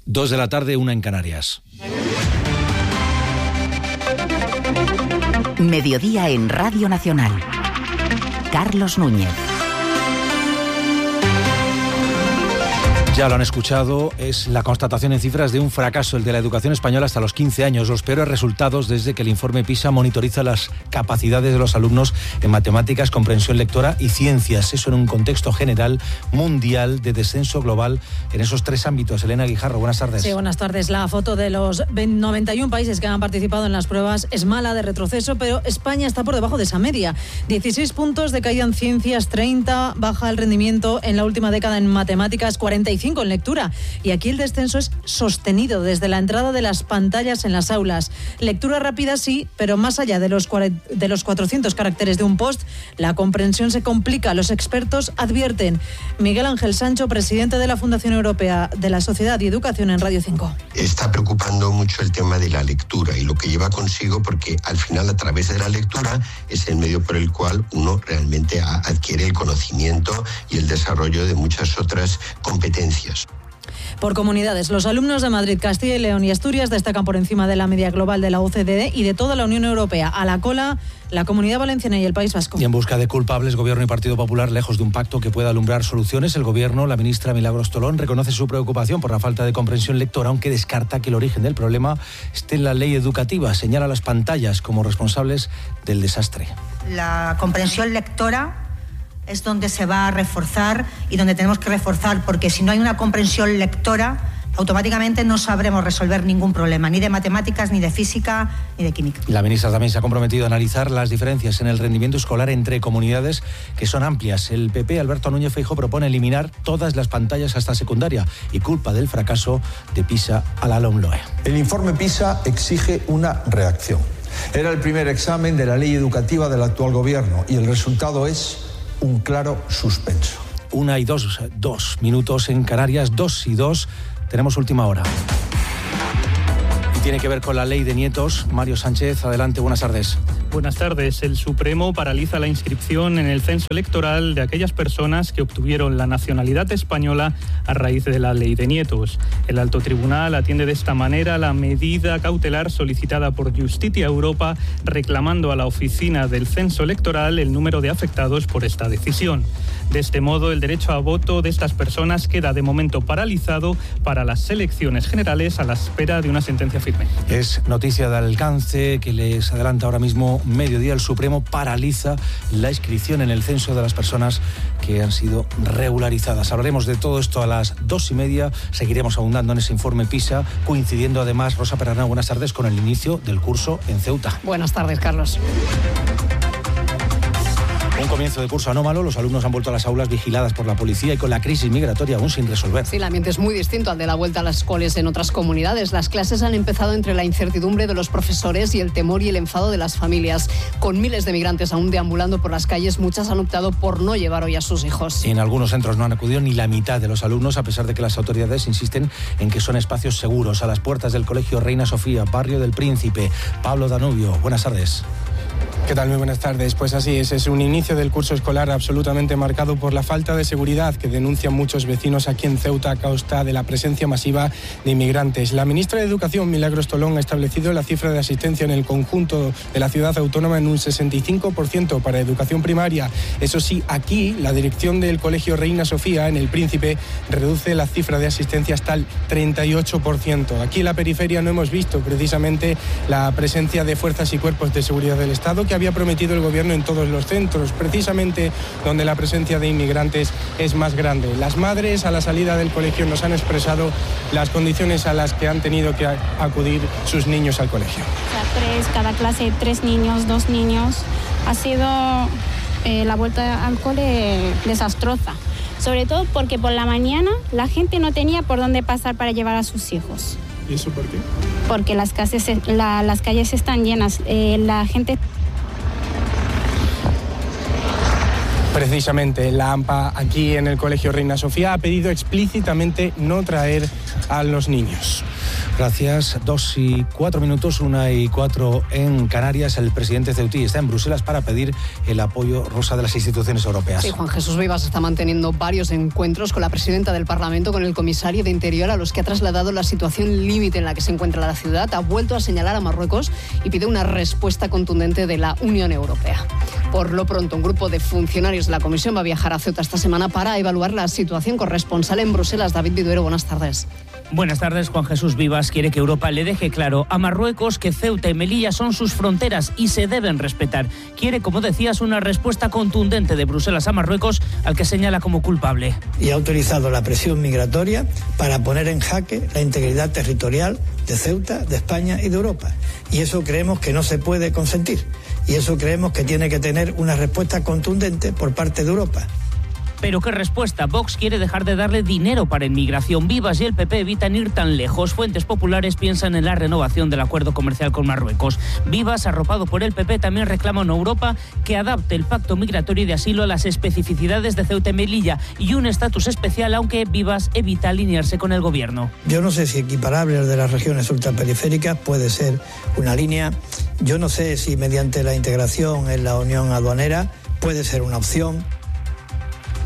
2 de la tarde, 1 en Canarias. Mediodía en Radio Nacional. Carlos Núñez. Ya lo han escuchado, es la constatación en cifras de un fracaso, el de la educación española hasta los 15 años. Los peores resultados desde que el informe PISA monitoriza las capacidades de los alumnos en matemáticas, comprensión lectora y ciencias. Eso en un contexto general mundial de descenso global en esos 3 ámbitos. Elena Guijarro, buenas tardes. Sí, buenas tardes. La foto de los 91 países que han participado en las pruebas es mala, de retroceso, pero España está por debajo de esa media. 16 puntos de caída en ciencias, 30 baja el rendimiento en la última década en matemáticas, 45 en lectura. Y aquí el descenso es sostenido desde la entrada de las pantallas en las aulas. Lectura rápida sí, pero más allá de los 400 caracteres de un post, la comprensión se complica. Los expertos advierten. Miguel Ángel Sancho, presidente de la Fundación Europea de la Sociedad y Educación en Radio 5. Está preocupando mucho el tema de la lectura y lo que lleva consigo, porque al final a través de la lectura es el medio por el cual uno realmente adquiere el conocimiento y el desarrollo de muchas otras competencias. Por comunidades, los alumnos de Madrid, Castilla y León y Asturias destacan por encima de la media global de la OCDE y de toda la Unión Europea. A la cola, la Comunidad Valenciana y el País Vasco. Y en busca de culpables, Gobierno y Partido Popular, lejos de un pacto que pueda alumbrar soluciones, el Gobierno, la ministra Milagros Tolón, reconoce su preocupación por la falta de comprensión lectora, aunque descarta que el origen del problema esté en la ley educativa. Señala las pantallas como responsables del desastre. La comprensión lectora es donde se va a reforzar y donde tenemos que reforzar, porque si no hay una comprensión lectora, automáticamente no sabremos resolver ningún problema, ni de matemáticas, ni de física, ni de química. La ministra también se ha comprometido a analizar las diferencias en el rendimiento escolar entre comunidades, que son amplias. El PP, Alberto Núñez Feijóo, propone eliminar todas las pantallas hasta secundaria y culpa del fracaso de PISA a la LOMLOE. El informe PISA exige una reacción. Era el primer examen de la ley educativa del actual gobierno y el resultado es un claro suspenso. 1:02 minutos en Canarias, 2:02. Tenemos última hora. Y tiene que ver con la ley de nietos. Mario Sánchez, adelante, buenas tardes. Buenas tardes. El Supremo paraliza la inscripción en el censo electoral de aquellas personas que obtuvieron la nacionalidad española a raíz de la ley de nietos. El Alto Tribunal atiende de esta manera la medida cautelar solicitada por Justitia Europa, reclamando a la oficina del censo electoral el número de afectados por esta decisión. De este modo, el derecho a voto de estas personas queda de momento paralizado para las elecciones generales a la espera de una sentencia firme. Es noticia de alcance que les adelanta ahora mismo Mediodía. El Supremo paraliza la inscripción en el censo de las personas que han sido regularizadas. Hablaremos de todo esto a las 2:30. Seguiremos abundando en ese informe PISA, coincidiendo además, Rosa Perarnau, buenas tardes, con el inicio del curso en Ceuta. Buenas tardes, Carlos. Un comienzo de curso anómalo, los alumnos han vuelto a las aulas vigiladas por la policía y con la crisis migratoria aún sin resolver. Sí, el ambiente es muy distinto al de la vuelta a las escuelas en otras comunidades. Las clases han empezado entre la incertidumbre de los profesores y el temor y el enfado de las familias. Con miles de migrantes aún deambulando por las calles, muchas han optado por no llevar hoy a sus hijos. En algunos centros no han acudido ni la mitad de los alumnos, a pesar de que las autoridades insisten en que son espacios seguros. A las puertas del Colegio Reina Sofía, Barrio del Príncipe. Pablo Danubio, buenas tardes. ¿Qué tal? Muy buenas tardes. Pues así es un inicio del curso escolar absolutamente marcado por la falta de seguridad que denuncian muchos vecinos aquí en Ceuta a causa de la presencia masiva de inmigrantes. La ministra de Educación, Milagros Tolón, ha establecido la cifra de asistencia en el conjunto de la ciudad autónoma en un 65% para educación primaria. Eso sí, aquí la dirección del Colegio Reina Sofía, en el Príncipe, reduce la cifra de asistencia hasta el 38%. Aquí en la periferia no hemos visto precisamente la presencia de fuerzas y cuerpos de seguridad del Estado que había prometido el gobierno en todos los centros, precisamente donde la presencia de inmigrantes es más grande. Las madres a la salida del colegio nos han expresado las condiciones a las que han tenido que acudir sus niños al colegio. Cada clase 3 niños, 2 niños. Ha sido la vuelta al cole desastrosa, sobre todo porque por la mañana la gente no tenía por dónde pasar para llevar a sus hijos. ¿Y eso por qué? Porque las calles están llenas, la gente... Precisamente, la AMPA aquí en el Colegio Reina Sofía ha pedido explícitamente no traer a los niños. Gracias. 2:04, 1:04 en Canarias. El presidente ceutí está en Bruselas para pedir el apoyo, Rosa, de las instituciones europeas. Sí, Juan Jesús Vivas está manteniendo varios encuentros con la presidenta del Parlamento, con el comisario de Interior, a los que ha trasladado la situación límite en la que se encuentra la ciudad. Ha vuelto a señalar a Marruecos y pide una respuesta contundente de la Unión Europea. Por lo pronto, un grupo de funcionarios de la Comisión va a viajar a Ceuta esta semana para evaluar la situación corresponsal en Bruselas. David Viduero, buenas tardes. Buenas tardes. Juan Jesús Vivas quiere que Europa le deje claro a Marruecos que Ceuta y Melilla son sus fronteras y se deben respetar. Quiere, como decías, una respuesta contundente de Bruselas a Marruecos, al que señala como culpable. Y ha utilizado la presión migratoria para poner en jaque la integridad territorial de Ceuta, de España y de Europa. Y eso creemos que no se puede consentir. Y eso creemos que tiene que tener una respuesta contundente por parte de Europa. ¿Pero qué respuesta? Vox quiere dejar de darle dinero para inmigración. Vivas y el PP evitan ir tan lejos. Fuentes populares piensan en la renovación del acuerdo comercial con Marruecos. Vivas, arropado por el PP, también reclama a Europa que adapte el pacto migratorio y de asilo a las especificidades de Ceuta y Melilla y un estatus especial, aunque Vivas evita alinearse con el gobierno. Yo no sé si equiparable al de las regiones ultraperiféricas puede ser una línea. Yo no sé si mediante la integración en la unión aduanera puede ser una opción.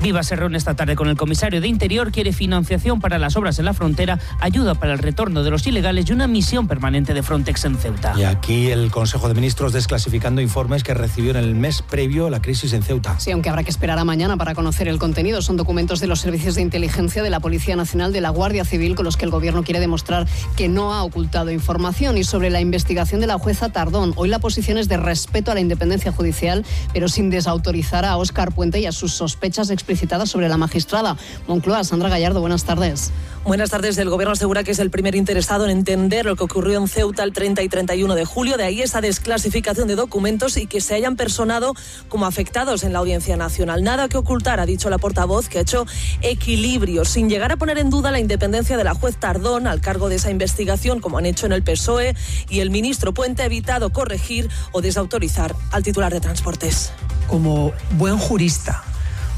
Vivas se reúne esta tarde con el comisario de Interior, quiere financiación para las obras en la frontera, ayuda para el retorno de los ilegales y una misión permanente de Frontex en Ceuta. Y aquí el Consejo de Ministros desclasificando informes que recibió en el mes previo a la crisis en Ceuta. Sí, aunque habrá que esperar a mañana para conocer el contenido. Son documentos de los servicios de inteligencia de la Policía Nacional, de la Guardia Civil, con los que el Gobierno quiere demostrar que no ha ocultado información. Y sobre la investigación de la jueza Tardón, hoy la posición es de respeto a la independencia judicial, pero sin desautorizar a Óscar Puente y a sus sospechas explicitadas sobre la magistrada. Moncloa, Sandra Gallardo, buenas tardes. Buenas tardes. El Gobierno asegura que es el primer interesado en entender lo que ocurrió en Ceuta el 30 y 31 de julio. De ahí esa desclasificación de documentos y que se hayan personado como afectados en la Audiencia Nacional. Nada que ocultar, ha dicho la portavoz, que ha hecho equilibrio, sin llegar a poner en duda la independencia de la juez Tardón al cargo de esa investigación, como han hecho en el PSOE, y el ministro Puente ha evitado corregir o desautorizar al titular de Transportes. Como buen jurista,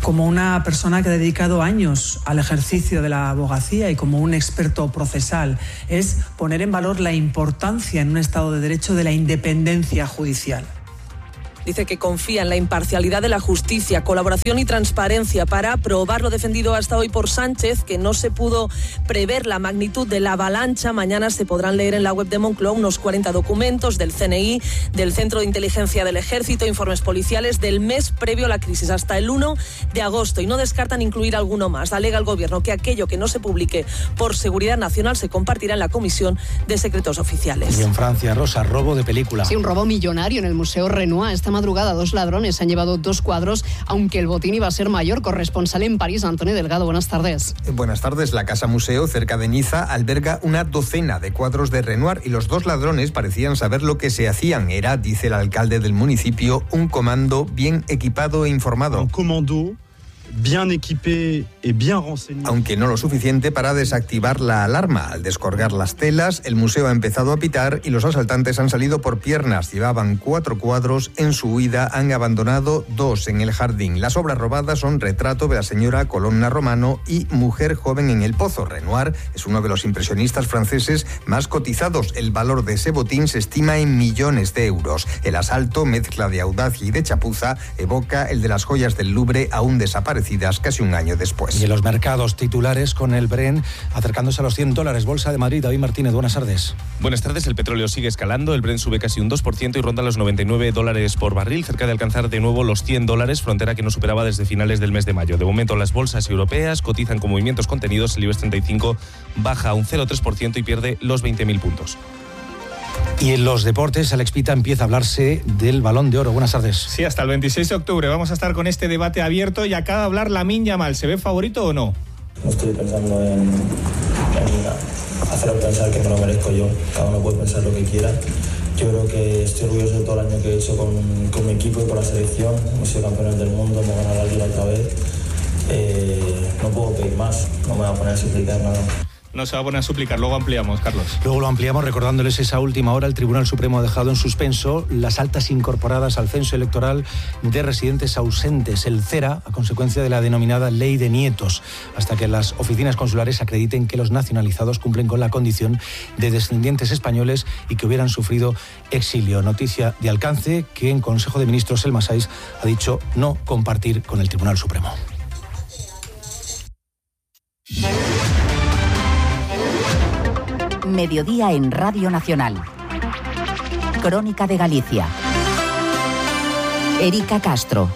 como una persona que ha dedicado años al ejercicio de la abogacía y como un experto procesal, es poner en valor la importancia en un Estado de Derecho de la independencia judicial. Dice que confía en la imparcialidad de la justicia, colaboración y transparencia para aprobar lo defendido hasta hoy por Sánchez, que no se pudo prever la magnitud de la avalancha. Mañana se podrán leer en la web de Moncloa unos 40 documentos del CNI, del Centro de Inteligencia del Ejército, informes policiales del mes previo a la crisis, hasta el 1 de agosto. Y no descartan incluir alguno más. Alega el Gobierno que aquello que no se publique por seguridad nacional se compartirá en la Comisión de Secretos Oficiales. Y en Francia, Rosa, robo de película. Sí, un robo millonario en el Museo Renoir. Esta madrugada 2 ladrones se han llevado 2 cuadros, aunque el botín iba a ser mayor. Corresponsal en París, Antonio Delgado, buenas tardes. Buenas tardes. La Casa Museo, cerca de Niza, alberga una docena de cuadros de Renoir y los 2 ladrones parecían saber lo que se hacían. Era, dice el alcalde del municipio, un comando bien equipado e informado. Un comando bien equipé y bien renseñado. Aunque no lo suficiente para desactivar la alarma. Al descolgar las telas, el museo ha empezado a pitar y los asaltantes han salido por piernas. Llevaban 4 cuadros. En su huida han abandonado 2 en el jardín. Las obras robadas son Retrato de la señora Colonna Romano y Mujer joven en el pozo. Renoir es uno de los impresionistas franceses más cotizados. El valor de ese botín se estima en millones de euros. El asalto, mezcla de audacia y de chapuza, evoca el de las joyas del Louvre aún desaparecidas casi un año después. Y en los mercados titulares con el Brent acercándose a los $100. Bolsa de Madrid, David Martínez, buenas tardes. Buenas tardes. El petróleo sigue escalando. El Brent sube casi un 2% y ronda los $99 por barril, cerca de alcanzar de nuevo los $100, frontera que no superaba desde finales del mes de mayo. De momento, las bolsas europeas cotizan con movimientos contenidos. El IBEX 35 baja un 0,3% y pierde los 20.000 puntos. Y en los deportes, Alex Pita, empieza a hablarse del Balón de Oro. Buenas tardes. Sí, hasta el 26 de octubre vamos a estar con este debate abierto y acaba de hablar Lamine Yamal. ¿Se ve favorito o no? No estoy pensando en hacerlo pensar que me lo merezco yo. Cada uno puede pensar lo que quiera. Yo creo que estoy orgulloso de todo el año que he hecho con mi equipo y con la selección. Hemos sido campeones del mundo, hemos ganado la Liga otra vez. No puedo pedir más, no me voy a poner a suplicar nada. no se va a poner a suplicar. Luego ampliamos, Carlos. Luego lo ampliamos recordándoles esa última hora. El Tribunal Supremo ha dejado en suspenso las altas incorporadas al censo electoral de residentes ausentes, el CERA, a consecuencia de la denominada Ley de Nietos, hasta que las oficinas consulares acrediten que los nacionalizados cumplen con la condición de descendientes españoles y que hubieran sufrido exilio. Noticia de alcance que en Consejo de Ministros el Masais ha dicho no compartir con el Tribunal Supremo. Mediodía en Radio Nacional. Crónica de Galicia. Erika Castro.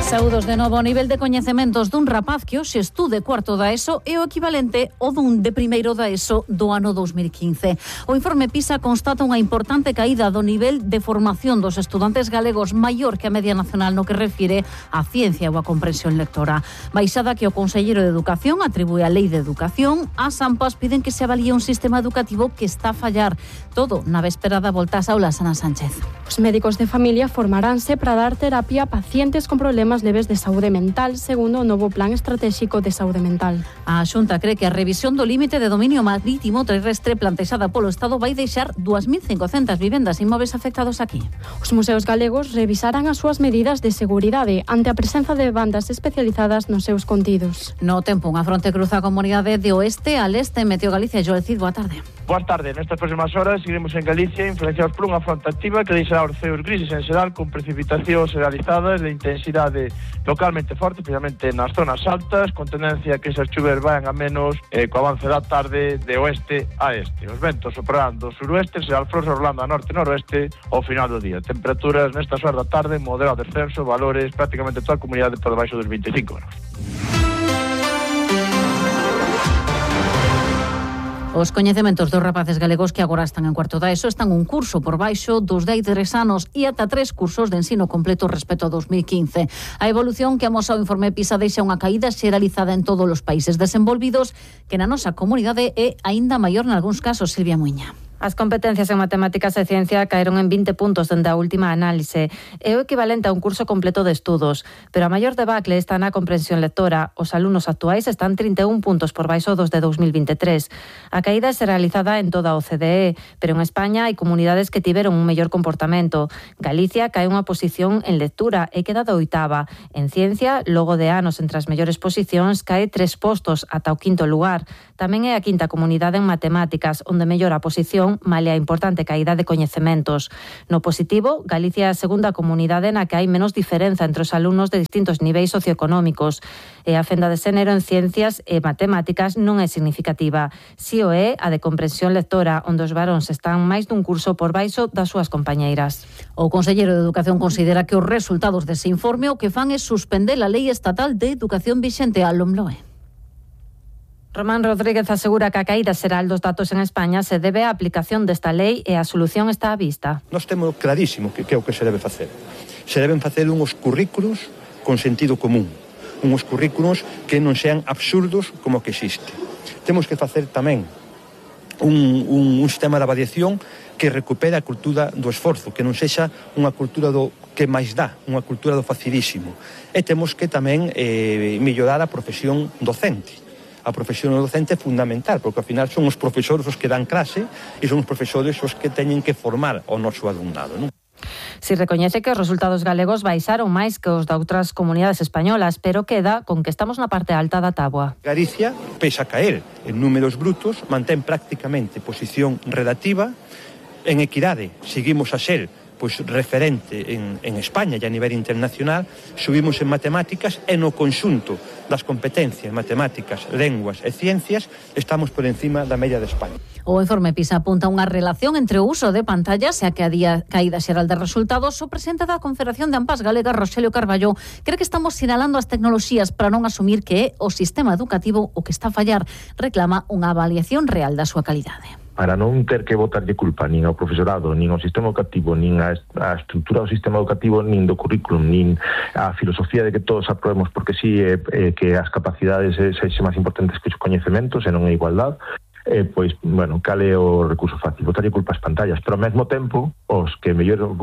Saúdos de novo. O nivel de coñecementos dun rapaz que hoxe estude cuarto da ESO é o equivalente ao dun de primeiro da ESO do ano 2015. O informe PISA constata unha importante caída do nivel de formación dos estudantes galegos maior que a media nacional no que refire á ciencia ou á comprensión lectora. Baixada que o Conselleiro de Educación atribúe a Lei de Educación, as AMPAs piden que se avalie un sistema educativo que está a fallar. Todo na véspera da volta ás aulas, Ana Sánchez. Os médicos de familia formaránse para dar terapia a pacientes con problemas leves de saúde mental, segundo o novo Plan Estratégico de Saúde Mental. A Xunta cree que a revisión do límite de dominio marítimo terrestre plantexada polo Estado vai deixar 2.500 vivendas inmóveis afectados aquí. Os museos galegos revisarán as súas medidas de seguridade ante a presenza de bandas especializadas nos seus contidos. No tempo, unha fronte cruza a comunidade de oeste a leste. Meteo Galicia, Joel Cid, boa tarde. Boa tarde. Nestas próximas horas seguiremos en Galicia influenciados por unha fronte activa que deixará os ceos grises en xeral con precipitacións generalizadas de intensidade localmente forte, especialmente nas zonas altas, con tendencia que esas chuvas vayan a menos co avance da tarde de oeste a este. Os ventos soprarán do suroeste, será alfroso rolando a norte-noroeste ao final do día. Temperaturas nestas horas da tarde, moderado descenso, valores prácticamente toda a comunidade por debaixo dos 25 graus. Os coñecementos dos rapaces galegos que agora están en cuarto da ESO están un curso por baixo dos de 3 anos e ata 3 cursos de ensino completo respecto a 2015. A evolución que amosa o informe PISA deixa unha caída xeralizada en todos os países desenvolvidos que na nosa comunidade é aínda maior nalgúns casos, Silvia Muiña. As competencias en matemáticas e ciencia caeron en 20 puntos dende a última análise. É o equivalente a un curso completo de estudos, pero a maior debacle está na comprensión lectora. Os alumnos actuais están 31 puntos por baixo dos de 2023. A caída é realizada en toda a OCDE, pero en España hai comunidades que tiveron un mellor comportamento. Galicia cae unha posición en lectura e queda de oitava. En ciencia, logo de anos entre as mellores posicións, cae 3 postos ata o quinto lugar. Tamén é a quinta comunidade en matemáticas, onde mellora a posición malia a importante caída de coñecementos. No positivo, Galicia é a segunda comunidade na que hai menos diferenza entre os alumnos de distintos niveis socioeconómicos. E a fenda de xénero en ciencias e matemáticas non é significativa. Si o é a de comprensión lectora, onde os varóns están máis dun curso por baixo das súas compañeiras. O Conselleiro de Educación considera que os resultados dese informe o que fan é suspender a Lei Estatal de Educación vixente a LOMLOE. Román Rodríguez asegura que a caída xeral dos datos en España se debe á aplicación desta lei e a solución está á vista. Nós temos clarísimo que é o que se debe facer. Se deben facer unhos currículos con sentido común, unhos currículos que non sean absurdos como que existe. Temos que facer tamén un sistema de avaliación que recupere a cultura do esforzo, que non sexa unha cultura do que máis dá, unha cultura do facilísimo. E temos que tamén mellorar a profesión docente. A profesión docente é fundamental, porque ao final son os profesores os que dan clase e son os profesores os que teñen que formar o noso alumnado, non? Si recoñece que os resultados galegos baixaron máis que os de outras comunidades españolas, pero queda con que estamos na parte alta da táboa. Galicia, pese a caer en números brutos, mantén prácticamente posición relativa. En equidade, seguimos a ser referente en España e a nivel internacional, subimos en matemáticas e no conxunto das competencias matemáticas, lenguas e ciencias estamos por encima da media de España. O informe PISA apunta unha relación entre o uso de pantallas e a caída xeral de resultados. O presidente da Confederación de AMPAs Galega, Roxelio Carballo, cree que estamos sinalando as tecnoloxías para non asumir que é o sistema educativo o que está a fallar. Reclama unha avaliación real da súa calidade. Para non ter que botarlle culpa nin ao profesorado, nin ao sistema educativo, nin a estrutura do sistema educativo, nin do currículum, nin a filosofía de que todos aprobemos porque sí, que as capacidades sexen máis importantes que os coñecementos e non a igualdade, pois, bueno, cal é o recurso fácil, botarlle culpa ás pantallas, pero ao mesmo tempo, os que mellor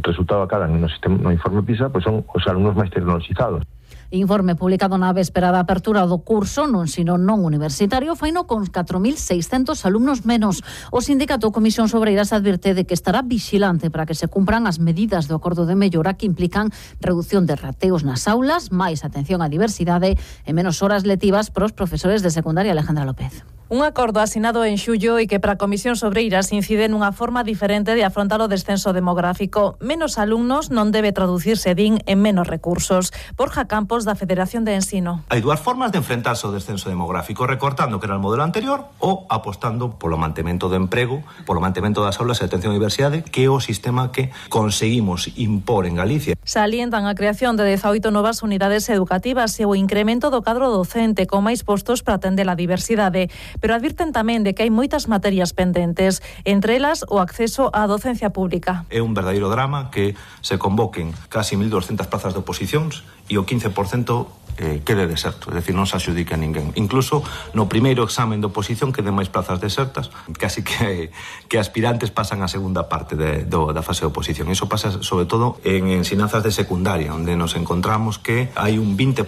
resultado acadan no informe PISA, pois son os alumnos máis tecnoloxizados. Informe publicado na véspera da apertura do curso no ensino non universitario faino con 4.600 alumnos menos. O sindicato Comisión Obreiras advirte de que estará vigilante para que se cumpran as medidas do acordo de mellora que implican reducción de rateos nas aulas, máis atención á diversidade e menos horas letivas para os profesores de secundaria. Alejandra López. Un acordo asinado en xullo e que para a Comisión Obreiras incide nunha forma diferente de afrontar o descenso demográfico. Menos alumnos non debe traducirse, din, en menos recursos. Borja Campos, da Federación de Ensino. Hai dúas formas de enfrentarse ao descenso demográfico, recortando, que era o modelo anterior, ou apostando polo mantemento do emprego, polo mantemento das aulas e atención á diversidade, que é o sistema que conseguimos impor en Galicia. Salientan a creación de 18 novas unidades educativas e o incremento do cadro docente con máis postos para atender a diversidade. Pero advirten tamén de que hai moitas materias pendentes, entre elas o acceso á docencia pública. É un verdadeiro drama que se convoquen casi 1.200 plazas de oposicións e o 15% quede deserto, é dicir, non se adxudica a ninguén. Incluso no primeiro examen de oposición queden máis plazas desertas, casi que aspirantes pasan a segunda parte da fase de oposición. Iso pasa sobre todo en ensinanzas de secundaria, onde nos encontramos que hai un 20%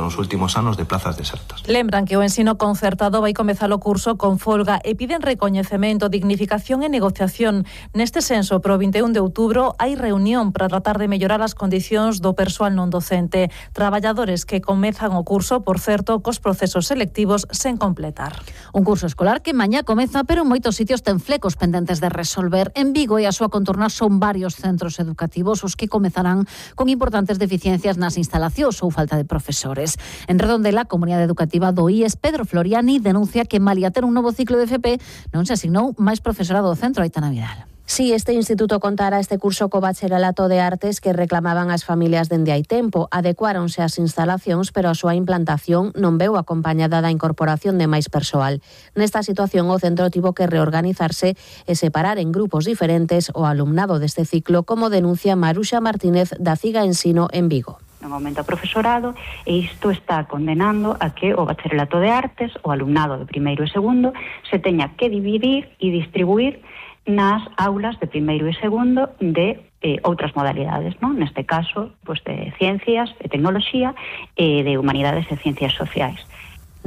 nos últimos anos de plazas desertas. Lembran que o ensino concertado vai comezar o curso con folga e piden recoñecemento, dignificación e negociación. Neste senso, pro 21 de outubro hai reunión para tratar de mellorar as condicións do persoal non docente, traballadores que comezan o curso, por certo, cos procesos selectivos sen completar. Un curso escolar que mañá comeza, pero en moitos sitios ten flecos pendentes de resolver. En Vigo e a súa contorna son varios centros educativos os que comezarán con importantes deficiencias nas instalacións ou falta de profesores. En Redondela, a comunidade educativa do IES, Pedro Floriani, denuncia que malia ter un novo ciclo de FP non se asignou máis profesorado ao centro. Aitana Vidal. Sí, este instituto contará este curso co bacharelato de artes que reclamaban as familias dende hai tempo. Adecuáronse as instalacións, pero a súa implantación non veu acompañada da incorporación de máis persoal. Nesta situación, o centro tivo que reorganizarse e separar en grupos diferentes o alumnado deste ciclo, como denuncia Maruxa Martínez, da CIGA Ensino en Vigo. Non aumenta o profesorado e isto está condenando a que o bacharelato de artes, o alumnado de primeiro e segundo, se teña que dividir e distribuir nas aulas de primeiro e segundo de outras modalidades, non? Neste caso, pues de ciencias e tecnoloxía e de humanidades e ciencias sociais.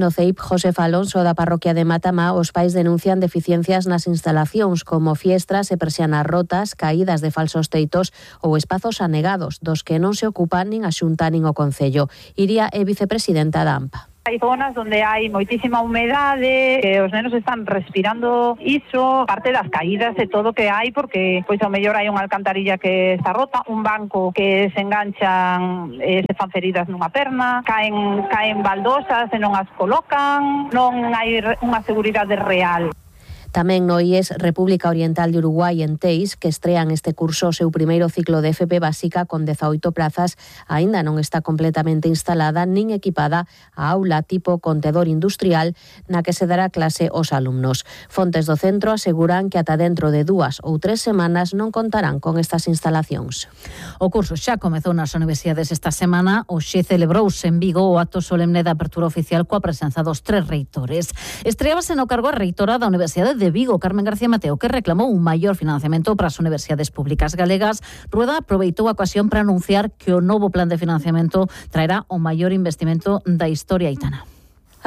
No CEIP Josef Alonso, da parroquia de Matamá, os pais denuncian deficiencias nas instalacións como fiestras e persianas rotas, caídas de falsos teitos ou espazos anegados, dos que non se ocupan nin a Xunta nin o Concello. Iria é vicepresidenta da AMPA. Hai zonas onde hai moitísima humedade, que os nenos están respirando iso, parte das caídas e todo que hai, porque pois ao mellor hai unha alcantarilla que está rota, un banco que se enganchan e se fan feridas nunha perna, caen baldosas e non as colocan, non hai unha seguridade real. Tamén no IES República Oriental de Uruguai en Teis, que estrean este curso o seu primeiro ciclo de FP básica con 18 plazas, aínda non está completamente instalada nin equipada a aula tipo contedor industrial na que se dará clase aos alumnos. Fontes do centro aseguran que ata dentro de 2 ou 3 semanas non contarán con estas instalacións. O curso xa comezou nas universidades esta semana. Hoxe celebrouse en Vigo o acto solemne da apertura oficial coa presenza dos 3 reitores. Estreábase no cargo a reitora da Universidade de Vigo, Carmen García Mateo, que reclamou un maior financiamento para as universidades públicas galegas. Rueda aproveitou a ocasión para anunciar que o novo plan de financiamento traerá o maior investimento da historia haitana.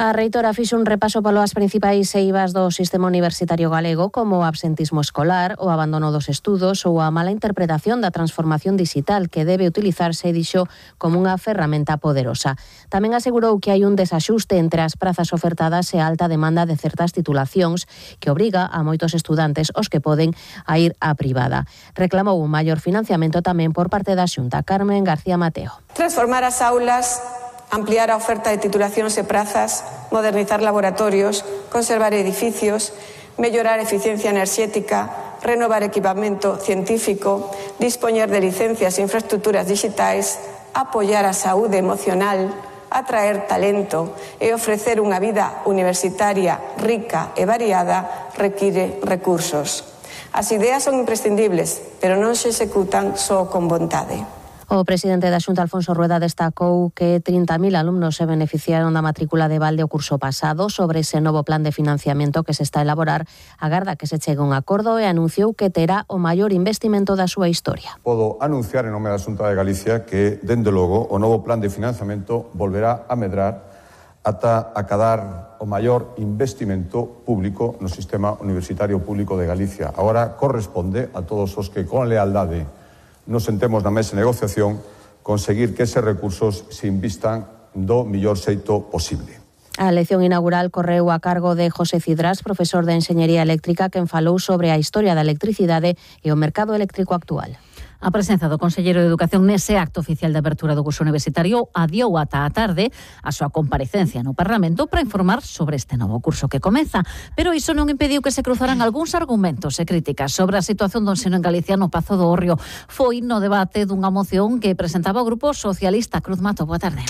A reitora fixo un repaso polas principais eivas do sistema universitario galego, como o absentismo escolar, o abandono dos estudos ou a mala interpretación da transformación digital, que debe utilizarse, dixo, como unha ferramenta poderosa. Tamén asegurou que hai un desaxuste entre as prazas ofertadas e a alta demanda de certas titulacións, que obriga a moitos estudantes, os que poden, a ir á privada. Reclamou un maior financiamento tamén por parte da Xunta. Carmen García Mateo. Transformar as aulas, ampliar a oferta de titulacións e prazas, modernizar laboratorios, conservar edificios, mellorar a eficiencia enerxética, renovar equipamento científico, dispoñer de licencias e infraestructuras digitais, apoiar a saúde emocional, atraer talento e ofrecer unha vida universitaria rica e variada require recursos. As ideas son imprescindibles, pero non se executan só con vontade. O presidente da Xunta, Alfonso Rueda, destacou que 30.000 alumnos se beneficiaron da matrícula de balde o curso pasado. Sobre ese novo plan de financiamento que se está a elaborar, agarda que se chegue un acordo e anunciou que terá o maior investimento da súa historia. Podo anunciar en nome da Xunta de Galicia que, dende logo, o novo plan de financiamento volverá a medrar ata acadar o maior investimento público no sistema universitario público de Galicia. Agora corresponde a todos os que con lealdade nos sentemos na mesa de negociación conseguir que eses recursos se invistan do mellor xeito posible. A lección inaugural correu a cargo de José Cidrás, profesor de Enxeñería Eléctrica, quen falou sobre a historia da electricidade e o mercado eléctrico actual. A presenza do conselleiro de Educación nese acto oficial de abertura do curso universitario adiou ata a tarde a súa comparecencia no Parlamento para informar sobre este novo curso que comeza. Pero iso non impediu que se cruzaran algúns argumentos e críticas sobre a situación do ensino en Galicia no Pazo do Hórreo. Foi no debate dunha moción que presentaba o Grupo Socialista. Cruz Mato, boa tarde.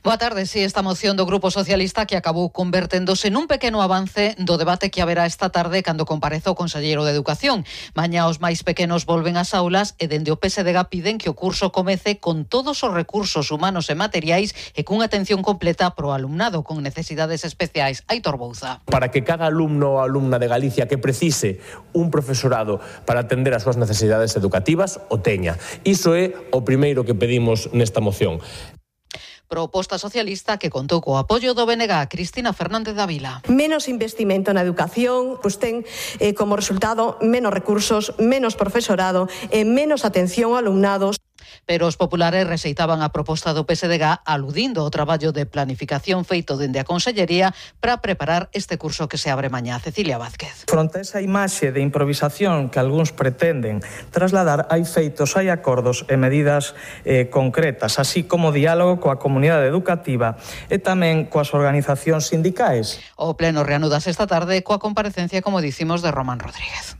Boa tarde, sí, esta moción do Grupo Socialista que acabou converténdose nun pequeno avance do debate que haberá esta tarde cando compareza o conselleiro de Educación. Mañá os máis pequenos volven ás aulas e dende o PSDG piden que o curso comece con todos os recursos humanos e materiais e cunha atención completa pro alumnado con necesidades especiais. Aitor Bouza. Para que cada alumno ou alumna de Galicia que precise un profesorado para atender as súas necesidades educativas o teña. Iso é o primeiro que pedimos nesta moción. Proposta socialista que contou co apoio do BNG. Cristina Fernández Dávila. Menos investimento na educación, pois ten como resultado menos recursos, menos profesorado e menos atención ao alumnado. Pero os populares rexeitaban a proposta do PSDG aludindo ao traballo de planificación feito dende a Consellería para preparar este curso que se abre mañá. Cecilia Vázquez. Fronte a esa imaxe de improvisación que algúns pretenden trasladar, hai feitos, hai acordos e medidas concretas, así como diálogo coa comunidade educativa e tamén coas organizacións sindicais. O pleno reanudas esta tarde coa comparecencia, como dicimos, de Román Rodríguez.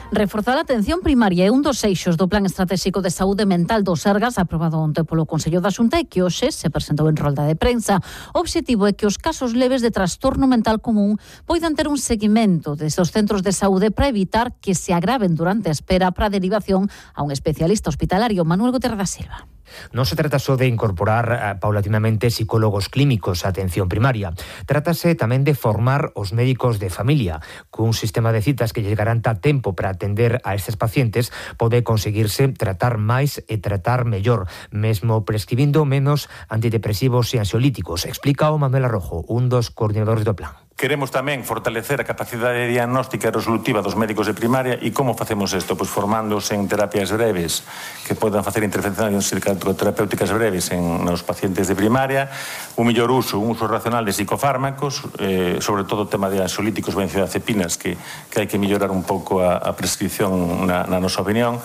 Reforzar a atención primaria é un dos eixos do Plan Estratégico de Saúde Mental do Sergas aprobado onte polo Consello da Xunta e que hoxe se presentou en rolda de prensa. O obxectivo é que os casos leves de trastorno mental común poidan ter un seguimento desde os centros de saúde para evitar que se agraven durante a espera para a derivación a un especialista hospitalario. Manuel Guterres da Silva. Non se trata só de incorporar paulatinamente psicólogos clínicos á atención primaria. Trátase tamén de formar os médicos de familia. Cun sistema de citas que lles garanta tempo para atender a estes pacientes, pode conseguirse tratar máis e tratar mellor, mesmo prescribindo menos antidepresivos e ansiolíticos. Explica o Manuel Arrojo, un dos coordinadores do plan. Queremos tamén fortalecer a capacidade diagnóstica e resolutiva dos médicos de primaria. E como facemos isto? Pois formándose en terapias breves que podan facer intervencións terapéuticas breves nos pacientes de primaria, un mellor uso, un uso racional de psicofármacos, sobre todo o tema de ansiolíticos, benzodiazepinas, que hai que mellorar un pouco a prescripción na nosa opinión.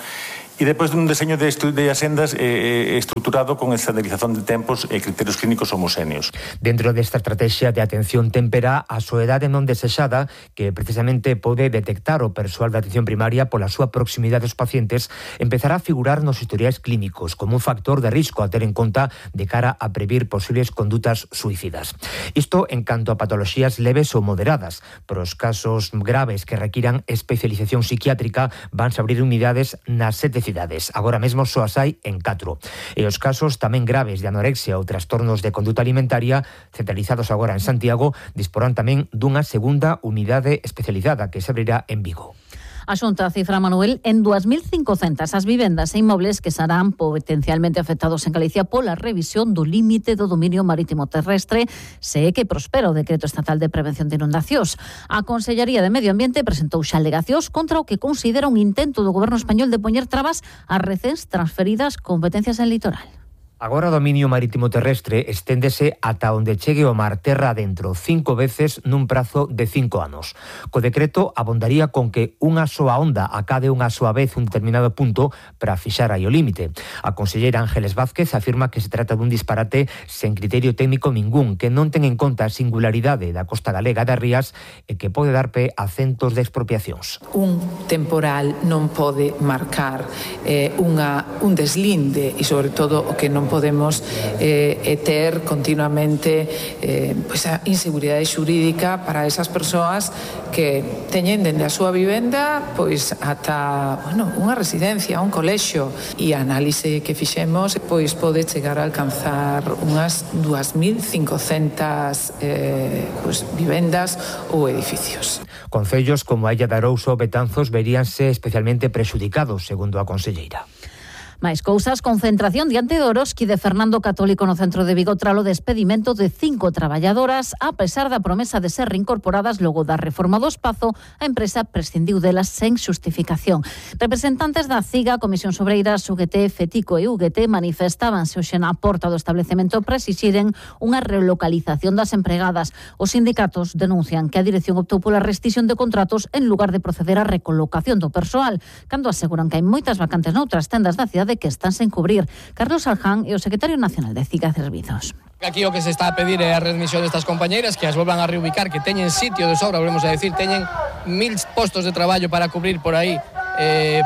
E depois dun deseño de axendas estruturado con estandarización de tempos e criterios clínicos homoxéneos. Dentro desta estrategia de atención témpera, a soedade non desexada, que precisamente pode detectar o persoal de atención primaria pola súa proximidade aos pacientes, empezará a figurar nos historiais clínicos como un factor de risco a ter en conta de cara a previr posibles condutas suicidas. Isto en canto a patoloxías leves ou moderadas. Para os casos graves que requiran especialización psiquiátrica, vanse abrir unidades nas 7 cidades. Agora mesmo só as hai en 4. E os casos tamén graves de anorexia ou trastornos de conduta alimentaria, centralizados agora en Santiago, disporán tamén dunha segunda unidade especializada que se abrirá en Vigo. A Xunta cifra, Manuel, en 2.500 as vivendas e inmobles que serán potencialmente afectados en Galicia pola revisión do límite do dominio marítimo terrestre, se é que prospera o Decreto Estatal de Prevención de Inundacións. A Consellería de Medio Ambiente presentou xa alegacións contra o que considera un intento do Goberno español de poñer trabas ás recens transferidas competencias en litoral. Agora o dominio marítimo terrestre esténdese ata onde chegue o mar terra adentro 5 veces nun prazo de 5 anos. Co decreto abondaría con que unha soa onda acade unha soa vez un determinado punto para fixar aí o límite. A conselleira Ángeles Vázquez afirma que se trata dun disparate sen criterio técnico ningún, que non ten en conta a singularidade da costa galega das rías e que pode dar pé a centos de expropiacións. Un temporal non pode marcar un deslinde e sobre todo o que non podemos ter continuamente pois a inseguridade xurídica para esas persoas que teñen dende a súa vivenda pois ata unha residencia, un colexio, e a análise que fixemos pois pode chegar a alcanzar unhas 2.500 vivendas ou edificios. Concellos como a Illa de Arousa ou Betanzos veríanse especialmente prexudicados, segundo a conselleira. Máis cousas, concentración diante de Oroski de Fernando Católico no centro de Vigo tralo despedimento de 5 traballadoras. A pesar da promesa de ser reincorporadas logo da reforma do espazo, a empresa prescindiu delas sen xustificación. Representantes da CIGA, Comisións Obreiras, UGT, FETICO e UGT manifestábanse hoxe na porta do establecemento para exixiren unha relocalización das empregadas. Os sindicatos denuncian que a dirección optou pola rescisión de contratos en lugar de proceder á recolocación do persoal, cando aseguran que hai moitas vacantes noutras tendas da cidade que están sen cubrir. Carlos Alján é o secretario nacional de CIGA Servizos. Aquí o que se está a pedir é a readmisión destas compañeiras, que as volvan a reubicar, que teñen sitio de sobra, volvemos a decir, teñen 1.000 postos de traballo para cubrir por aí,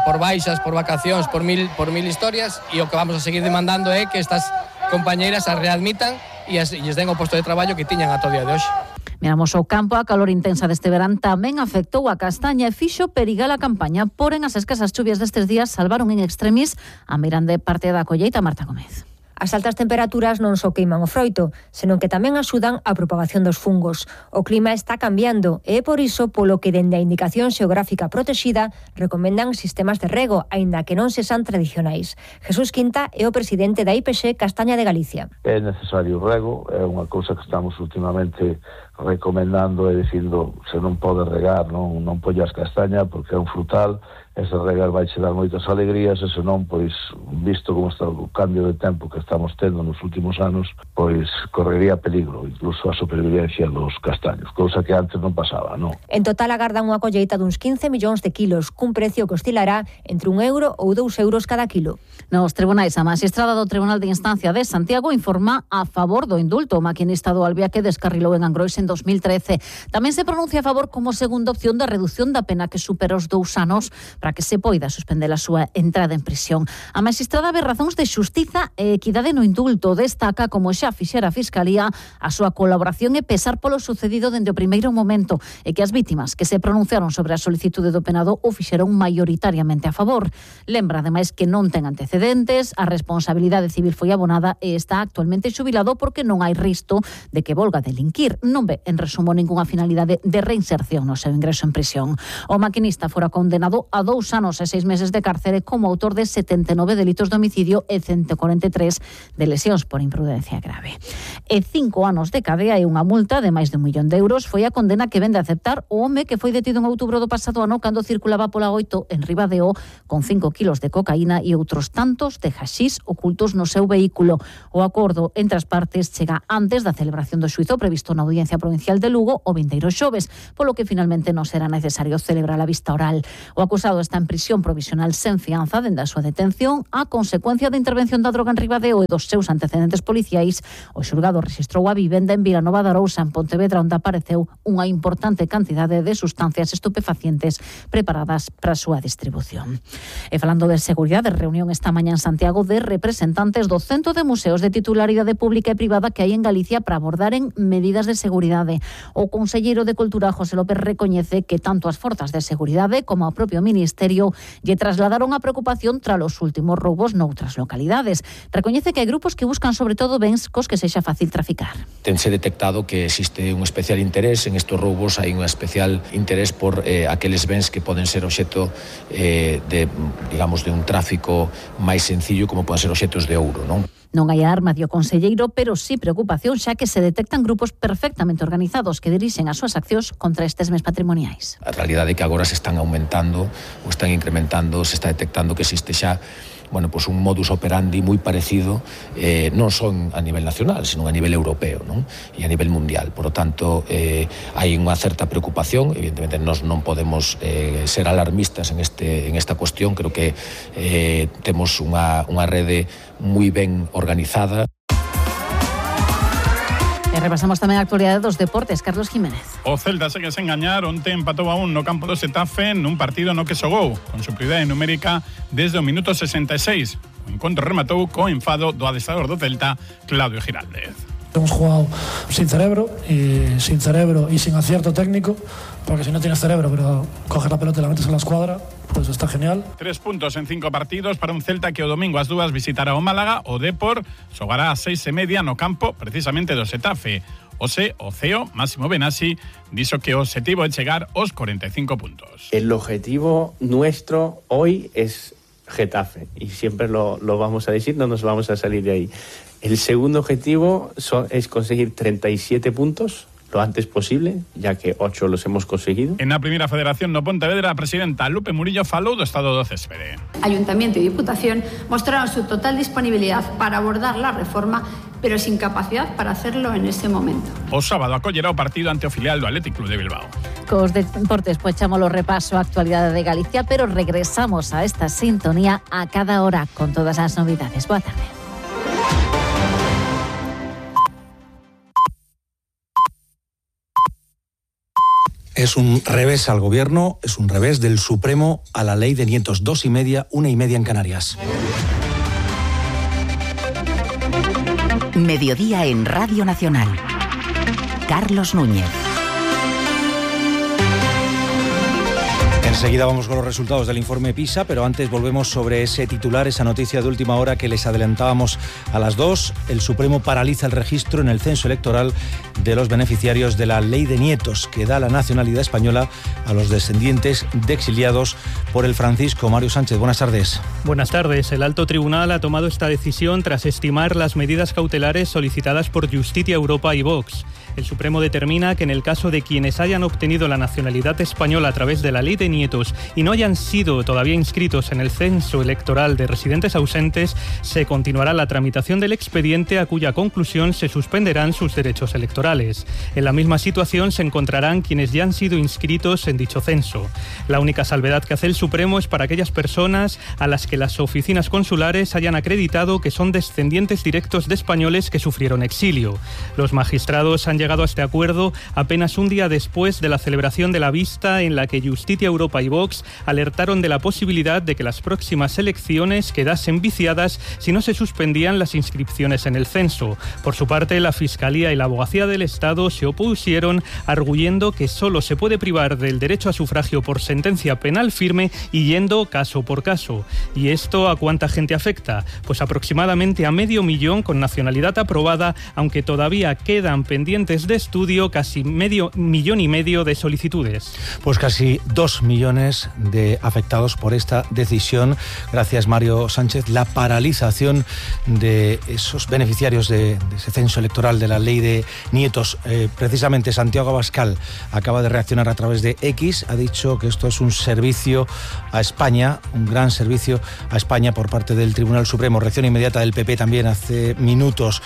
por baixas, por vacacións, por mil historias, e o que vamos a seguir demandando é que estas compañeiras as readmitan e lles den o posto de traballo que tiñan ata o día de hoxe. Miramos ao campo, a calor intensa deste verán tamén afectou a castaña e fixo perigar a campaña, porén as escasas chuvias destes días salvaron en extremis a meirande parte da colleita. Marta Gómez. As altas temperaturas non só queiman o froito, senón que tamén axudan á propagación dos fungos. O clima está cambiando e é por iso polo que dende a Indicación Xeográfica Protexida recomendan sistemas de rego, aínda que non se san tradicionais. Jesús Quinta é o presidente da IPX Castaña de Galicia. É necesario o rego, é unha cousa que estamos últimamente recomendando e dicindo se non pode regar, non pollas castaña porque é un frutal, ese regar vai che dar moitas alegrías, e senón, pois, visto como está o cambio de tempo que estamos tendo nos últimos anos, pois correría peligro, incluso a supervivencia dos castaños, cousa que antes non pasaba, non? En total agardan unha colleita duns 15 millóns de kilos, cun precio que oscilará entre €1 ou €2 cada kilo. Nos tribunais, a magistrada do Tribunal de Instancia de Santiago informa a favor do indulto o maquinista do Albia que descarrilou en Angrois en 2013. Tamén se pronuncia a favor como segunda opción da reducción da pena que supera os 2 anos para que se poida suspender a súa entrada en prisión. A magistrada ve razóns de xustiza e equidade no indulto. Destaca, como xa fixera a Fiscalía, a súa colaboración e pesar polo sucedido dende o primeiro momento e que as vítimas que se pronunciaron sobre a solicitude do penado o fixeron maioritariamente a favor. Lembra, ademais, que non ten antecedentes, a responsabilidade civil foi abonada e está actualmente xubilado porque non hai risco de que volga a delinquir. Non ve, en resumo, ningunha finalidade de reinserción no seu ingreso en prisión. O maquinista fora condenado a 2 anos e 6 meses de cárcere como autor de 79 delitos de homicidio e 143 de lesións por imprudencia grave. E 5 anos de cadea e unha multa de máis de €1.000.000 foi a condena que vende a aceptar o home que foi detido en outubro do pasado ano cando circulaba pola 8 en Ribadeo con 5 kilos de cocaína e outros tantos de haxís ocultos no seu vehículo. O acordo entre as partes chega antes da celebración do xuízo previsto na Audiencia Provincial de Lugo o vindeiro xoves, polo que finalmente non será necesario celebrar a vista oral. O acusado está en prisión provisional sen fianza dende a súa detención a consecuencia da intervención da droga en Ribadeo e dos seus antecedentes policiais. O xulgado rexistrou a vivenda en Vilanova de Arousa, en Pontevedra, onde apareceu unha importante cantidade de sustancias estupefacientes preparadas para a súa distribución. E falando de seguridade, reunión esta mañá en Santiago de representantes do Centro de Museos de Titularidade Pública e Privada que hai en Galicia para abordaren medidas de seguridade. O conselleiro de Cultura, José López, recoñece que tanto as forzas de seguridade como o propio Ministerio lle trasladaron a preocupación tras os últimos roubos noutras localidades. Recoñece que hai grupos que buscan sobre todo bens cos que sexa fácil traficar. Tense detectado que existe un especial interés en estos roubos, hai un especial interés por aqueles bens que poden ser obxecto de un tráfico máis sencillo, como poden ser obxectos de ouro, non? Non hai alarma, dio conselleiro, pero sí preocupación xa que se detectan grupos perfectamente organizados que dirixen as súas accións contra estes bens patrimoniais. A realidade é que agora se están aumentando ou están incrementando, se está detectando que existe xa un modus operandi moi parecido, non só a nivel nacional, sino a nivel europeo, non? E a nivel mundial. Por lo tanto, hai unha certa preocupación. Evidentemente, nós non podemos ser alarmistas en esta cuestión. Creo que temos unha rede moi ben organizada. E repasamos tamén a actualidade dos deportes. Carlos Jiménez. O Celta segue sen gañar. Onte empatou a 1 no campo do Xetafe nun partido no que xogou con superioridade numérica desde o minuto 66. O O encontro rematou co enfado do adestrador do Celta, Claudio Giraldez. Hemos jugado sin cerebro y sin acierto técnico, porque si no tienes cerebro, pero coges la pelota y la metes en la escuadra, pues está genial. 3 puntos en 5 partidos para un Celta que o domingo ás 2 visitará o Málaga. O Depor xogará ás 6:30 no campo precisamente do Xetafe. O CEO Máximo Benassi dixo que o objetivo é chegar aos 45 puntos. El objetivo nuestro hoy es Getafe y siempre lo vamos a decir, no nos vamos a salir de ahí. El segundo objetivo es conseguir 37 puntos lo antes posible, ya que 8 los hemos conseguido. En la Primera Federación no Pontevedra, a presidenta Lupe Murillo falou do estado do céspede. Ayuntamiento y Diputación mostraron su total disponibilidad para abordar la reforma, pero sin capacidad para hacerlo en ese momento. O sábado acollerá o partido ante o filial do Athletic Club de Bilbao. Cos deportes, pues echamos los repaso a actualidade de Galicia, pero regresamos a esta sintonía a cada hora con todas las novedades. Boa tarde. Es un revés al gobierno, es un revés del Supremo a la ley de nietos. 2:30, 1:30 en Canarias. Mediodía en Radio Nacional. Carlos Núñez. Enseguida vamos con los resultados del informe PISA, pero antes volvemos sobre ese titular, esa noticia de última hora que les adelantábamos a las 2. El Supremo paraliza el registro en el censo electoral de los beneficiarios de la Ley de Nietos, que da la nacionalidad española a los descendientes de exiliados por el Francisco. Mario Sánchez, buenas tardes. Buenas tardes. El Alto Tribunal ha tomado esta decisión tras estimar las medidas cautelares solicitadas por Justitia Europa y Vox. El Supremo determina que en el caso de quienes hayan obtenido la nacionalidad española a través de la Ley de Nietos y no hayan sido todavía inscritos en el censo electoral de residentes ausentes, se continuará la tramitación del expediente, a cuya conclusión se suspenderán sus derechos electorales. En la misma situación se encontrarán quienes ya han sido inscritos en dicho censo. La única salvedad que hace el Supremo es para aquellas personas a las que las oficinas consulares hayan acreditado que son descendientes directos de españoles que sufrieron exilio. Los magistrados han llegado a este acuerdo apenas un día después de la celebración de la vista en la que Justitia Europa y Vox alertaron de la posibilidad de que las próximas elecciones quedasen viciadas si no se suspendían las inscripciones en el censo. Por su parte, la Fiscalía y la Abogacía del Estado se opusieron, arguyendo que solo se puede privar del derecho a sufragio por sentencia penal firme y yendo caso por caso. ¿Y esto a cuánta gente afecta? Pues aproximadamente a 500.000 con nacionalidad aprobada, aunque todavía quedan pendientes de estudio casi 500.000 de solicitudes. Pues casi 2 millones de afectados por esta decisión. Gracias, Mario Sánchez. La paralización de esos beneficiarios de ese censo electoral de la Ley de Nietos. Precisamente Santiago Abascal acaba de reaccionar a través de X. Ha dicho que esto es un servicio a España, un gran servicio a España por parte del Tribunal Supremo. Reacción inmediata del PP también hace minutos.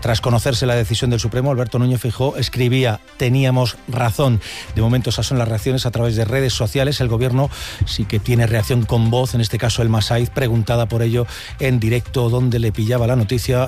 Tras conocerse la decisión del Supremo, Alberto Núñez Feijóo escribía: teníamos razón. De momento esas son las reacciones a través de redes sociales. El gobierno sí que tiene reacción con voz, en este caso el Masaiz, preguntada por ello en directo dónde le pillaba la noticia,